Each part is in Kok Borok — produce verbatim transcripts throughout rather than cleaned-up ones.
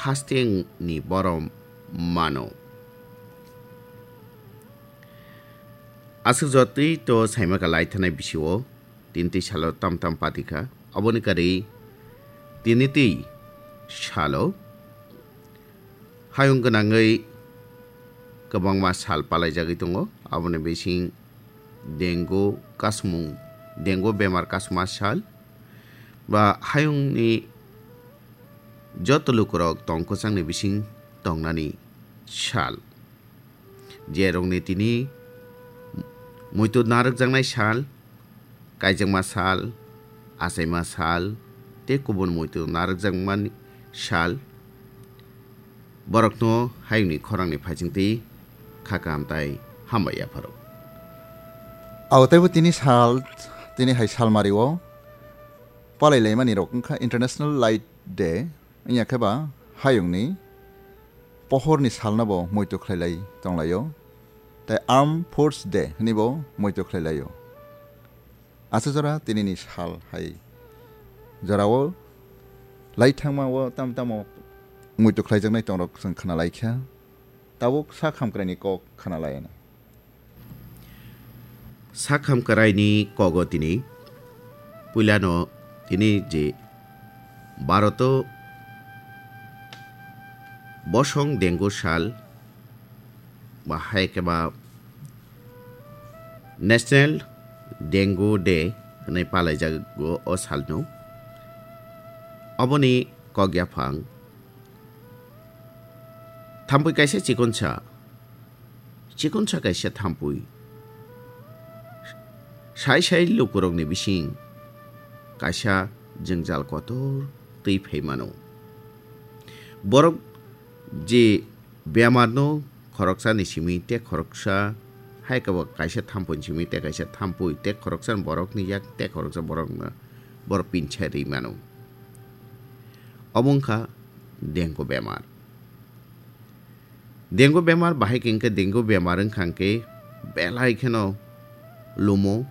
hasteni borom mano. Aswk jotwi to saimaka lai thanai bisio, tini twi salo tam tam patikha. Aboni kari tini twi salo hayung gwnangwi kwbangma sal palaijagwi tongo. Aboni bising dengu kasmung, dengu bemar kasma sal, ba hayungni joto lukurok tong kwchangni bising tongnani sal. Jerokni tini muitu narwkjaknai sal, kaijakma sal, achaima sal, tei kubun muitu narwkjakmani sal, borokno hayungni khorangni phaisingtwi kha kaham tai hambai yapharo. Abo teibo tini sal, tini hai salmario palai laimani rok wngkha International Light Day, wngya khe ba hayungni pohorni salno bo muitu khlai lai tonglaio, tei Armed Force Day hwnwi bo muitu khlai laio. Aswk jora tinini sal hai jorao lai thangma o tam tamo muitu khlaijaknai tongrok chwng khna lai kha, tabuk sak hamkraini kok khna lai anw. Sak hamkraini kogo tini puilano tini je Bharoto bosong dengu sal ba hai khe ba National Dengue Day hwnwi palaijago o salno. Oboni kok yaphang thampui kaisa chikonsa, chikonsa kaisa thampui sai sai lukurokni bising kaisa jwngjal kotor twi phai mano. Borok je bemarno khoroksani simi tei khoroksa, hai khe bo kaisa thampuini simi tei kaisa thampui tei khoroksa borokni yak tei khoroksa borokno borok pinsa rwi mano. Obo wngkha dengue bemar. Dengue bemar bahai khe wngkha, dengue bemar wngkha hwnkhe belai kheno lumo,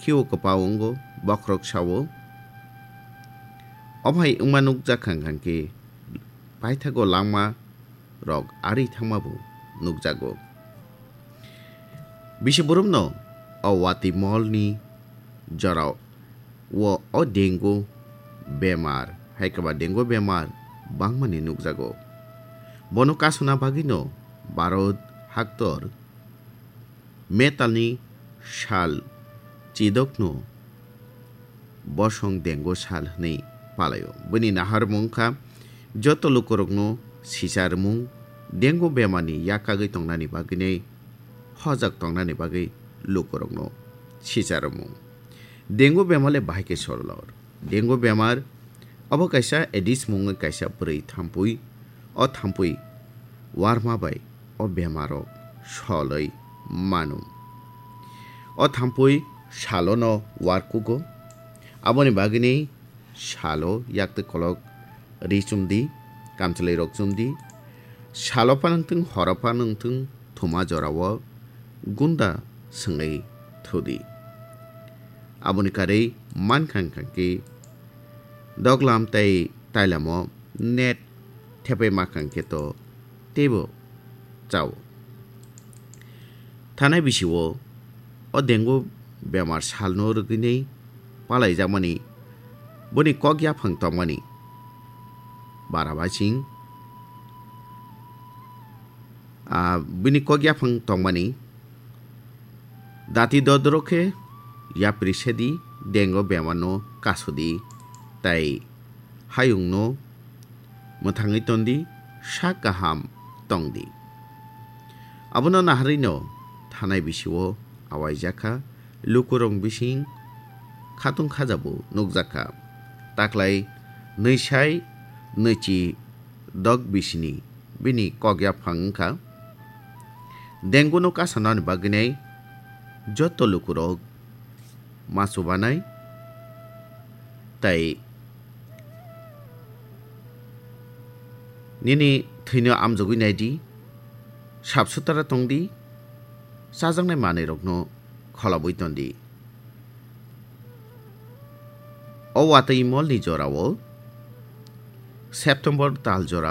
khio kwpao wngo, bokhorok sao. Omo hai wngma nukjak kha hwnkhe paithago langma rok ari thangma bo nukjago. Bisi borokno o watwi molni jorao o, o dengue bemar, hai khe ba dengue bemar bangmani nukjago. Bono kasuna bagwino Bharat haktor metalni sal chidokno bosong dengue sal hwnwi palaio. Bini naharmung kha joto lukurokno sicharmung, dengue bemarni yakagwi tongnani bagwinai hojak tongnani bagwi lukurokno sicharmung. Dengue bemar le bahai khe solor. Dengue bemar obo kaisa Aedes mungwi kaisa bwrwi thampui. O thampui warma bai o bemaro solwi mano. O thampui salono warkugo. Aboni bagwini salo yaktwi kolok ri chumdi, kamchwlwi rok chumdi. Salo phano wngthung, horo phano wngthung, thuma jorao gunda swngwi thudi. Aboni karwi mankha wngkha khe doglam tei tailamo net thepai mankha khe to teibo chao. Thanai bisio o dengue bemar salno rwgwinai palaijakmani boni kok yaphang tongmani barabasing, ah, bini kok yaphang tongmani dati dodro khe yapri sedi dengue bemarno kasudi tai hayungno mwthangwi tondi, sak kaham tongdi. Abono naharwino thanai bisio awaijakha, lukurok bising khatung khajabu nukjakha. Taklai nwisai nwichi dok bisini bini kok yaphang wngkha. Dengue no kasanani bagwinai joto lukurok ma chubanai tai nini thwino amjogwi naidi, sap sutara tongdi, chajaknai manwirokno kholobwi tondi. O watwi molni jorao September tal jora